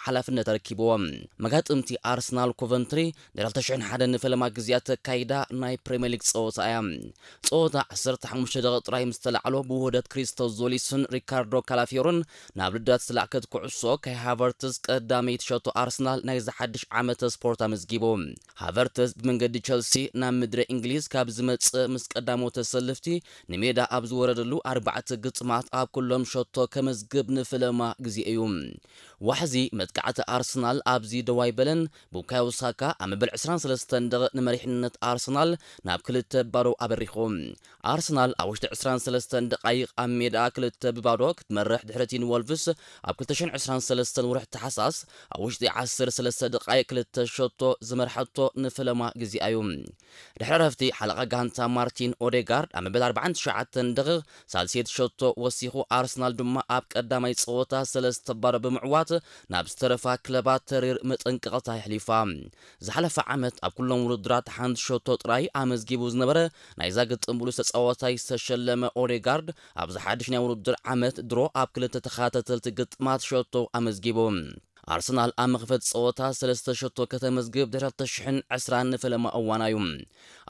ሓላፍነት ኣረኪብዎ። መጋጥምቲ ኣርሰናል ኮቨንትሪ ንልዕሊ ክልተ ሽሕን ሓደን ንፈለማ ግዜያት ተካይዳ ናይ ፕሪምየር ሊግ ጸወታ እያ። ጸወታ ዓሰርተ ሓሙሽተ ደቂቕ ጥራይ ምስ ተላዕሎ ብውህደት ክሪስቶስ ዞሊስን ሪካርዶ ካላፊዮርን ናብ ልዳት ዝለኣከት ኩዕሶ ካይ ሃቨርትዝ ቀዳመይቲ ሸቶ ኣርሰናል ናይዚ ሓድሽ ዓመተ ስፖርት ኣመዝጊቡ። ሃቨርትዝ ብመንገዲ ቸልሲ ናብ ምድሪ እንግሊዝ ካብ ዝመጽእ ምስ ቀዳሞት ተሰልፍቲ ንሜዳ ኣብ ዝወረደሉ ኣርባዕተ ግጥማት ኣብ ኩሎም ሸቶ ከመዝግብ ንፈለማ ግዜ እዩ። ዋሕዚ መጥቃዕቲ ኣርሰናል ኣብዚ ደው ኣይበለን። ቡካዮ ሳካ ኣብ መበል ዕስራን ሰለስተን ደቂቕ ንመሪሕነት ኣርሰናል ናብ ክልተ ባዶ ኣበሪኹ። ኣርሰናል ኣብ ውሽጢ ዕስራን ሰለስተን ደቃይቕ ኣብ ሜዳ ክልተ ብባዶ ክትመርሕ ድሕሪቲ ንወልቭስ ኣብ ክልተ ሽሕን ዕስራን ሰለስተን ወርሒ ታሕሳስ ኣብ ውሽጢ ዓሰርተ ሰለስተ ደቃይቕ ክልተ ሸቶ ዝመርሐቶ ንፈለማ ግዜኣ እዩ። ድሕሪ ዕረፍቲ ሓለቓ ጋንታ ማርቲን ኦዴጋርድ ኣብ መበል ኣርባዓን ትሽዓተን ደቂቕ ሳልሰይቲ ሸቶ ወሲኹ ኣርሰናል ድማ ኣብ ቀዳማይ ጸወታ ሰለስተ ባዶ ብምዕዋት ናብ ዝተረፋ ክለባት ተሪር መጠንቀቕታ የሕሊፋ። ዝሓለፈ ዓመት ኣብ ኩሎም ውድድራት ሓንቲ ሸቶ ጥራይ ኣመዝጊቡ ዝነበረ ናይዛ ግጥም ብሉጽ ተጻዋታይ ዝተሸለመ ኦዴጋርድ ኣብዚ ሓድሽ ናይ ውድድር ዓመት ድሮ ኣብ ክልተ ተኸታተልቲ ግጥማት ሸቶ ኣመዝጊቡ። ኣርሰናል ኣብ መኽፈቲ ጸወታ ሰለስተ ሸቶ ከተመዝግብ ድሕሪ ክልተ ሽሕን ዕስራን ንፈለማ እዋና እዩ።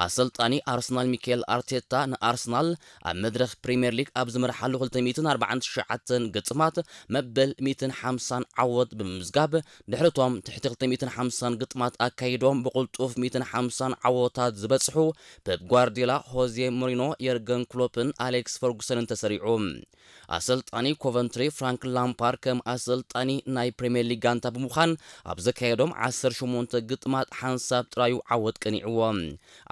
ኣሰልጣኒ ኣርሰናል ሚካኤል ኣርቴታ ንኣርሰናል ኣብ መድረኽ ፕሪምየር ሊግ ኣብ ዝመርሓሉ ክልተ ሚእትን ኣርባዓን ትሽዓተን ግጥማት መበል ሚእትን ሓምሳን ዓወት ብምምዝጋብ ድሕሪቶም ትሕቲ ክልተ ሚእትን ሓምሳን ግጥማት ኣካይዶም ብቕልጡፍ ሚእትን ሓምሳን ዓወታት ዝበጽሑ ፔፕ ጓርዲዮላ፣ ሆዜ ሞሪኖ፣ የርገን ክሎፕን ኣሌክስ ፈርጉሰንን ተሰሪዑ። ኣሰልጣኒ ኮቨንትሪ ፍራንክ ላምፓርድ ከም ኣሰልጣኒ ናይ ፕሪምየር ሊግ ጋንታ ብምዃን ኣብ ዘካየዶም ዓሰርተ ሸሞንተ ግጥማት ሓንሳብ ጥራዩ ዓወት ቀኒዕዎ።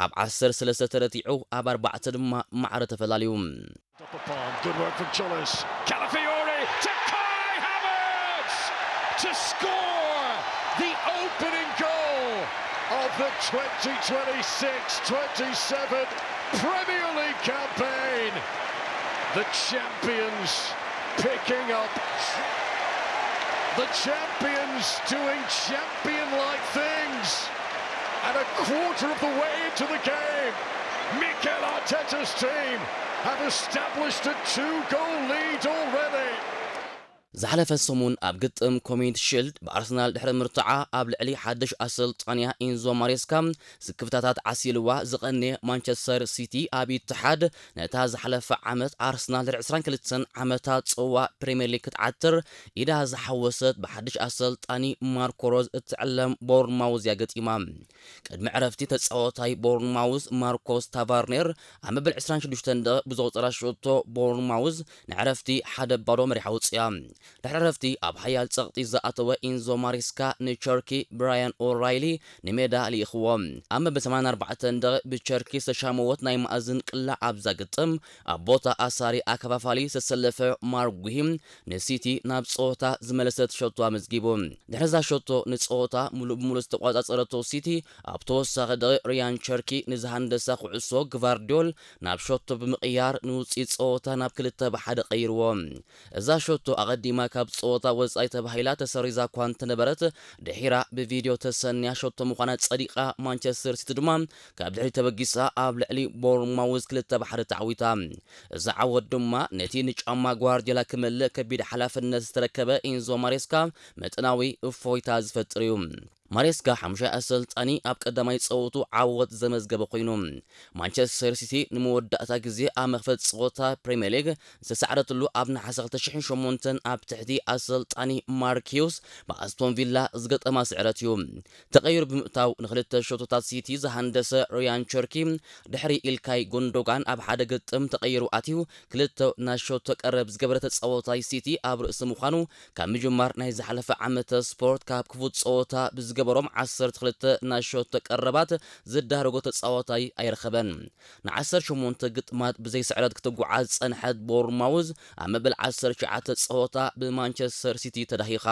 ኣብ ዓሰርተ ሰለስተ ተረቲዑ ኣብ ኣርባዕተ ድማ ማዕረ ተፈላልዩ። Up the palm, good work from Chullis. Calafiori to Kai Havertz to score the opening goal of the twenty twenty-six twenty-seven Premier League campaign. The champions picking up. The champions doing champion-like things. And a quarter of the way into the game, Mikel Arteta's team have established a two-goal lead already. ዝሓለፈ ሰሙን ኣብ ግጥም ኮሚኒቲ ሽልድ ብኣርሰናል ድሕሪ ምርትዓ ኣብ ልዕሊ ሓድሽ ኣሰልጣንያ ኢንዞ ማሬስካ ስክፍታታት ዓሲልዋ ዝቐንየ ማንቸስተር ሲቲ ኣብ ኢትሓድ ነታ ዝሓለፈ ዓመት ኣርሰናል ድሕሪ ዕስራን ክልተን ዓመታት ጽዋ ፕሪምየር ሊግ ክትዓትር ኢዳ ዝሓወሰት ብሓድሽ ኣሰልጣኒ ማርኮ ሮዝ እትዕለም ቦርንማውዝ እያ ገጢማ። ቅድሚ ዕረፍቲ ተጻዋታይ ቦርንማውዝ ማርኮስ ታቫርኔር ኣብ መበል ዕስራን ሽዱሽተን ደቂቕ ብዘቑጸራ ሸቶ ቦርንማውዝ ንዕረፍቲ ሓደ ባዶ መሪሓ ውጽያ። ድሕሪ ዕረፍቲ ኣብ ሓያል ጸቕጢ ዝኣተወ ኢንዞ ማሬስካ ንቸርኪ ብራያን ኦራይሊ ንሜዳ ልኢኽዎ። ኣብ መበል ሰማንያን ኣርባዕተን ደቂቕ ብቸርኪ ዝተሻመወት ናይ ማእዝን ቅላዕ ኣብዛ ግጥም ኣብ ቦታ ኣሳሪ ኣከፋፋሊ ዝተሰለፈ ማርክ ጉሂ ንሲቲ ናብ ጸወታ ዝመለሰት ሸቶ ኣመዝጊቡ። ድሕሪ እዛ ሸቶ ንጸወታ ሙሉእ ብሙሉእ ዝተቋጻጸረቶ ሲቲ ኣብ ተወሳኺ ደቂቕ ሪያን ቸርኪ ንዝሃንደሳ ኩዕሶ ግቫርዲዮል ናብ ሸቶ ብምቕያር ንውጽኢት ጸወታ ናብ ክልተ ብሓደ ቀይርዎ። እዛ ሸቶ ኣቐዲማ ካብ ጸወታ ወጻኢ ተባሂላ ተሰሪዛ እኳ እንተነበረት ድሒራ ብቪድዮ ተሰንያ ሸቶ ምዃና ጸዲቓ ማንቸስተር ሲቲ ድማ ካብ ድሕሪት ተበጊሳ ኣብ ልዕሊ ቦርንማውዝ ክልተ ብሓደ ተዓዊታ። እዛ ዓወት ድማ ነቲ ንጫማ ጓርዲዮላ ክመልእ ከቢድ ሓላፍነት ዝተረከበ ኢንዞ ማሬስካ መጠናዊ እፎይታ ዝፈጥር እዩ። ማሬስካ ሓሙሻይ ኣሰልጣኒ ኣብ ቀዳማይ ጸወቱ ዓወት ዘመዝገበ ኮይኑ ማንቸስተር ሲቲ ንመወዳእታ ግዜ ኣብ መኽፈት ጸወታ ፕሪምየር ሊግ ዝተሳዕረትሉ ኣብ ነሓሰ ክልተ ሽሕን ሸሞንተን ኣብ ትሕቲ ኣሰልጣኒ ማርክ ሂውስ ብኣስቶን ቪላ ዝገጠማ ስዕረት እዩ። ተቐይሩ ብምእታው ንክልተ ሸቶታት ሲቲ ዝሃንደሰ ሪያን ቸርኪ ድሕሪ ኢልካይ ጎንዶጋን ኣብ ሓደ ግጥም ተቐይሩ ኣትዩ ክልተ ናይ ሸቶ ቀረብ ዝገበረ ተጻዋታይ ሲቲ ኣብ ርእሲ ምዃኑ ካብ ምጅማር ናይ ዝሓለፈ ዓመተ ስፖርት ካብ ክፉት ጸወታ ብዝገበሮም ዓሰርተ ክልተ ናይ ሸቶ ቀረባት ዝዳረጎ ተጻዋታይ ኣይረኸበን። ንዓሰርተ ሸሞንተ ግጥማት ብዘይ ስዕረት ክትጓዓዝ ዝጸንሐት ቦርንማውዝ ኣብ መበል ዓሰርተ ትሽዓተ ጸወታ ብማንቸስተር ሲቲ ተዳሂኻ።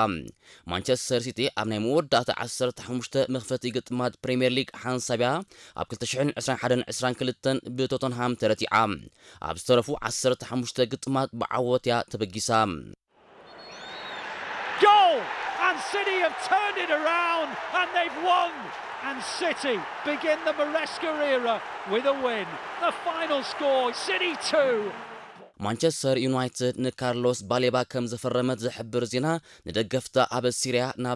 ማንቸስተር ሲቲ ኣብ ናይ መወዳእታ ዓሰርተ ሓሙሽተ መኽፈቲ ግጥማት ፕሪምየር ሊግ ሓንሳብ እያ ኣብ ክልተ ሽሕን ዕስራን ሓደን ዕስራን ክልተን ብቶተንሃም ተረቲዓ። ኣብ ዝተረፉ ዓሰርተ ሓሙሽተ ግጥማት ብዓወት እያ ተበጊሳ። Goal! And City have turned it around and they've won. And City begin the Maresca era with a win. The final score, City two, ማንቸስተር ዩናይትድ ንካርሎስ ባሌባ ከም ዘፈረመት ዝሕብር ዜና ንደገፍታ ኣብ ሲርያ ናብ